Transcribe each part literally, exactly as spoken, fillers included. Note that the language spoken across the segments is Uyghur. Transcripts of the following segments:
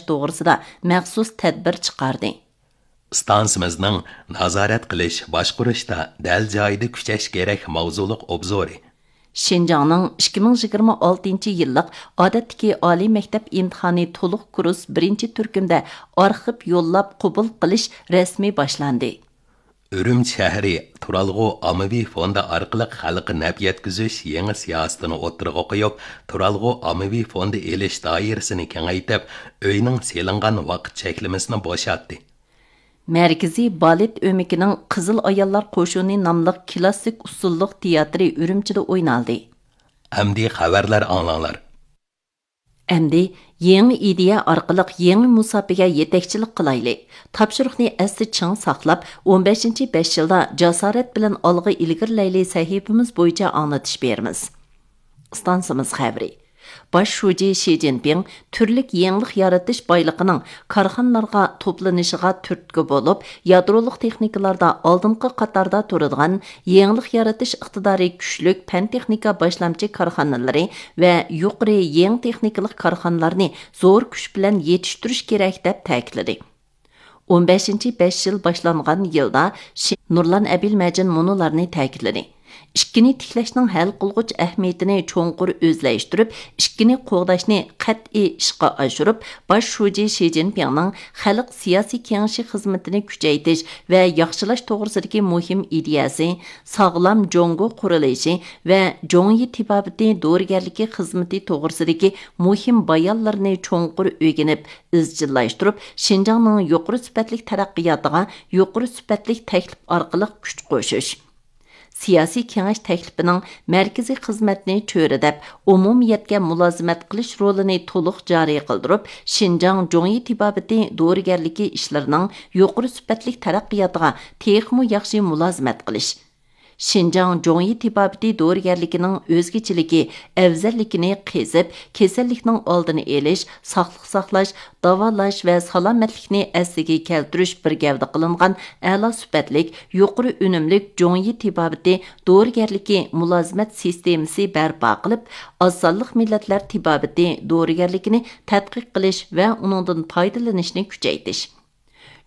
توغرىسىدا مەخسۇس تەدبىر چىقاردى. ئىستانسىمىزنىڭ نازارەت قىلىش، باشقۇرۇشتا دەل جايىدا كۈچەش كېرەك ماۋزۇلۇق ئوبزورى. شىنجاڭنىڭ ئىككى مىڭ يىگىرمە ئالتىنچى يىللىق ئادەتتىكى ئالىي مەكتەپ ئىمتىھانى تولۇق كۇرس بىرىنچى تۈركۈمدە ئارخىپ يوللاپ قوبۇل قىلىش رەسمىي باشلاندى. ئۈرۈمچى شەھىرى تۇرالغۇ ئاممىۋى فوندى ئارقىلىق خەلققە نەپ يەتكۈزۈش يېڭى سىياسىتىنى ئوتتۇرىغا قويۇپ، تۇرالغۇ ئاممىۋى فوندى ئېلىش دائىرىسىنى كېڭەيتىپ، ئۆينىڭ سېلىنغان ۋاقىت چەكلىمىسىنى بوشاتتى. مەركىزىي بالېت ئۆمىكىنىڭ قىزىل ئاياللار قوشۇنى ناملىق كىلاسسىك ئۇسسۇللۇق تىياتىرى ئۈرۈمچىدە ئوينالدى. ئەمدى خەۋەرلەر ئاڭلاڭلار. ئەمدى يېڭى ئىدىيە ئارقىلىق يېڭى مۇساپىگە يېتەكچىلىك قىلايلى. تاپشۇرۇقنى ئەستە چىڭ ساقلاپ، ئون بەشىنچى بەش يىلدا جاسارەت بىلەن ئالغا ئىلگىرىلەيلى سەھىپىمىز بويىچە ئاڭلىتىش بېرىمىز. ئىستانسىمىز خەۋىرى. باش شۇجى شى جىنپىڭ تۈرلۈك يېڭىلىق يارىتىش بايلىقىنىڭ كارخانىلارغا توپلىنىشىغا تۈرتكە بولۇپ، يادرولۇق تېخنىكىلاردا ئالدىنقى قاتاردا تۇرىدىغان، يېڭىلىق يارىتىش ئىقتىدارى كۈچلۈك پەن-تېخنىكا باشلامچى كارخانىلىرى ۋە يۇقىرى يېڭى تېخنىكىلىق كارخانىلارنى زور كۈچ بىلەن يېتىشتۈرۈش كېرەك، دەپ تەكىتلىدى. ئون بەشىنچى بەش يىل باشلانغان يىلدا شى-، نۇرلان ئەبىلمەجىن مۇنۇلارنى تەكىتلىدى: ئىككىنى تىكلەشنىڭ ھەل قىلغۇچ ئەھمىيىتىنى چوڭقۇر ئۆزلەشتۈرۈپ، ئىككىنى قوغداشنى قەتئىي ئىشقا ئاشۇرۇپ، باش شۇجى شى جىنپىڭنىڭ خەلق سىياسىي كېڭىشى خىزمىتىنى كۈچەيتىش ۋە ياخشىلاش توغرىسىدىكى مۇھىم ئىدىيەسى، ساغلام جۇڭگو قۇرۇلۇشى ۋە جۇڭيى تېبابىتى دورىگەرلىكى خىزمىتى توغرىسىدىكى مۇھىم بايانلىرىنى چوڭقۇر ئۆگىنىپ، ئىزچىللاشتۇرۇپ، شىنجاڭنىڭ يۇقىرى سۈپەتلىك تەرەققىياتىغا يۇقىرى سۈپەتلىك تەكلىپ ئارقىلىق كۈچ قوشۇش. سىياسىي كېڭەش تەكلىپىنىڭ مەركىزىي خىزمەتنى چۆرىدەپ، ئومۇمىيەتكە مۇلازىمەت قىلىش رولىنى تولۇق جارى قىلدۇرۇپ، شىنجاڭ جۇڭيى تېبابىتى دورىگەرلىكى ئىشلىرىنىڭ يۇقىرى سۈپەتلىك تەرەققىياتىغا تېخىمۇ ياخشى مۇلازىمەت قىلىش. شىنجاڭ جۇڭيى تېبابىتى دورىگەرلىكىنىڭ ئۆزگىچىلىكى، ئەۋزەللىكىنى قېزىپ، كېسەللىكنىڭ ئالدىنى ئېلىش، ساقلىق ساقلاش، داۋالاش ۋە سالامەتلىكنى ئەسلىگە كەلتۈرۈش بىر گەۋدە قىلىنغان ئەلا سۈپەتلىك، يۇقىرى ئۈنۈملۈك جۇڭيى تېبابىتى دورىگەرلىكى مۇلازىمەت سىستېمىسى بەرپا قىلىپ، ئاز سانلىق مىللەتلەر تېبابىتى دورىگەرلىكىنى تەتقىق قىلىش ۋە ئۇنىڭدىن پايدىلىنىشنى كۈچەيتىش.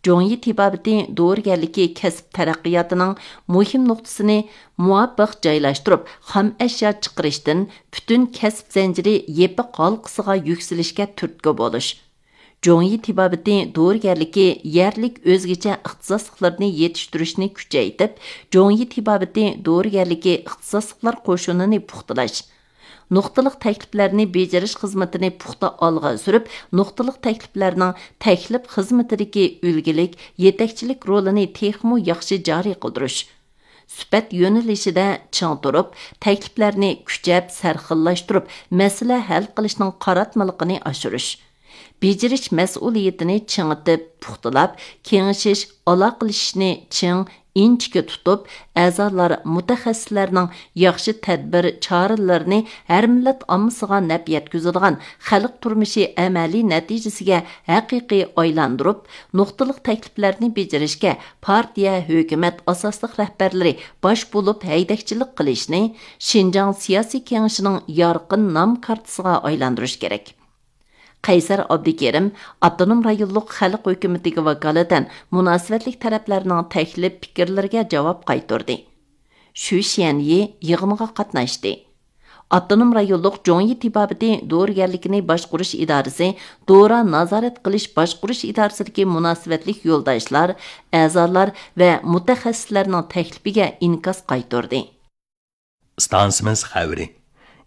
جۇڭيى تېبابىتى دورىگەرلىكى كەسىپ تەرەققىياتىنىڭ مۇھىم نۇقتىسىنى مۇۋاپىق جايلاشتۇرۇپ، خام ئەشيا چىقىرىشتىن پۈتۈن كەسىپ زەنجىرى يېپىق ھالقىسىغا يۈكسىلىشكە تۈرتكە بولۇش. جۇڭيى تېبابىتى دورىگەرلىكى يەرلىك ئۆزگىچە ئىختىساسلىقلىرىنى يېتىشتۈرۈشنى كۈچەيتىپ، جۇڭيى تېبابىتى دورىگەرلىكى ئىختىساسلىقلار قوشۇنىنى پۇختىلاش. نۇقتىلىق تەكلىپلەرنى بېجىرىش خىزمىتىنى پۇختا ئالغا سۈرۈپ، نۇقتىلىق تەكلىپلەرنىڭ تەكلىپ خىزمىتىدىكى ئۈلگىلىك، يېتەكچىلىك رولىنى تېخىمۇ ياخشى جارى قىلدۇرۇش. سۈپەت يۆنىلىشىدە چىڭ تۇرۇپ، تەكلىپلەرنى كۈچەپ سەرخىللاشتۇرۇپ، مەسىلە ھەل قىلىشنىڭ قاراتمىلىقىنى ئاشۇرۇش. بېجىرىش مەسئۇلىيىتىنى چىڭىتىپ، پۇختىلاپ، كېڭىشىش، ئالاقىلىشىشنى چىڭ، ئىنچىكە تۇتۇپ، ئەزالار، مۇتەخەسسىسلەرنىڭ ياخشى تەدبىر، چارىلىرىنى ھەر مىللەت ئاممىسىغا نەپ يەتكۈزىدىغان، خەلق تۇرمۇشى ئەمەلىي نەتىجىسىگە ھەقىقىي ئايلاندۇرۇپ، نۇقتىلىق تەكلىپلەرنى بېجىرىشكە پارتىيە، ھۆكۈمەت ئاساسلىق رەھبەرلىرى باش بولۇپ ھەيدەكچىلىك قىلىشنى شىنجاڭ سىياسىي كېڭىشىنىڭ يارقىن نام كارتىسىغا ئايلاندۇرۇش كېرەك. قەيسەر ئابدۇكېرىم ئاپتونوم رايونلۇق خەلق ھۆكۈمىتىگە ۋاكالىتەن مۇناسىۋەتلىك تەرەپلەرنىڭ تەكلىپ پىكىرلىرىگە جاۋاب قايتۇردى. شۈ شيەنيى يىغىنغا قاتناشتى. ئاپتونوم رايونلۇق جۇڭيى تېبابىتى دورىگەرلىكىنى باشقۇرۇش ئىدارىسى دورا نازارەت قىلىش باشقۇرۇش ئىدارىسىدىكى مۇناسىۋەتلىك يولداشلار، ئەزالار ۋە مۇتەخەسسىسلەرنىڭ تەكلىپىگە ئىنكاس قايتۇردى. ئىستانسىمىز خەۋىرى.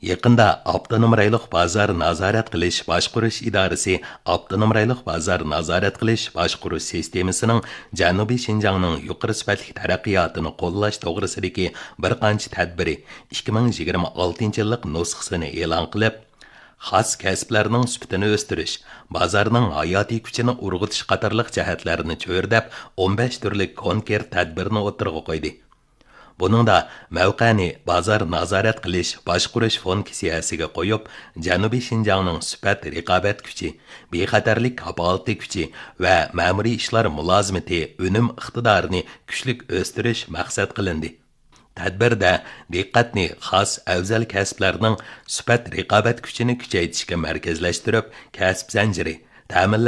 يېقىندا ئاپتونوم رايونلۇق بازار نازارەت قىلىش باشقۇرۇش ئىدارىسى ئاپتونوم رايونلۇق بازار نازارەت قىلىش باشقۇرۇش سىستېمىسىنىڭ جەنۇبىي شىنجاڭنىڭ يۇقىرى سۈپەتلىك تەرەققىياتىنى قوللاش توغرىسىدىكى بىر قانچە تەدبىرى ئىككى مىڭ يىگىرمە ئالتىنچى يىللىق نۇسخىسىنى ئېلان قىلىپ، خاس كەسىپلەرنىڭ سۈپىتىنى ئۆستۈرۈش، بازارنىڭ ھاياتىي كۈچىنى ئۇرغۇتۇش قاتارلىق جەھەتلەرنى چۆرىدەپ، ئون بەش تۈرلۈك كونكرېت تەدبىرنى ئوتتۇرىغا قويدى. بۇنىڭدا مەۋقەنى بازار نازارەت قىلىش باشقۇرۇش فۇنكسىيەسىگە قويۇپ، جەنۇبىي شىنجاڭنىڭ سۈپەت رىقابەت كۈچى، بىخەتەرلىك كاپالىتى كۈچى ۋە مەمۇرىي ئىشلار مۇلازىمىتى ئۈنۈم ئىقتىدارىنى كۈچلۈك ئۆستۈرۈش مەقسەت قىلىندى. تەدبىردە دىققەتنى خاس ئەۋزەل كەسىپلەرنىڭ سۈپەت رىقابەت كۈچىنى كۈچەيتىشكە مەركەزلەشتۈرۈپ، كەسىپ زەنجىرى، تەمىنلەش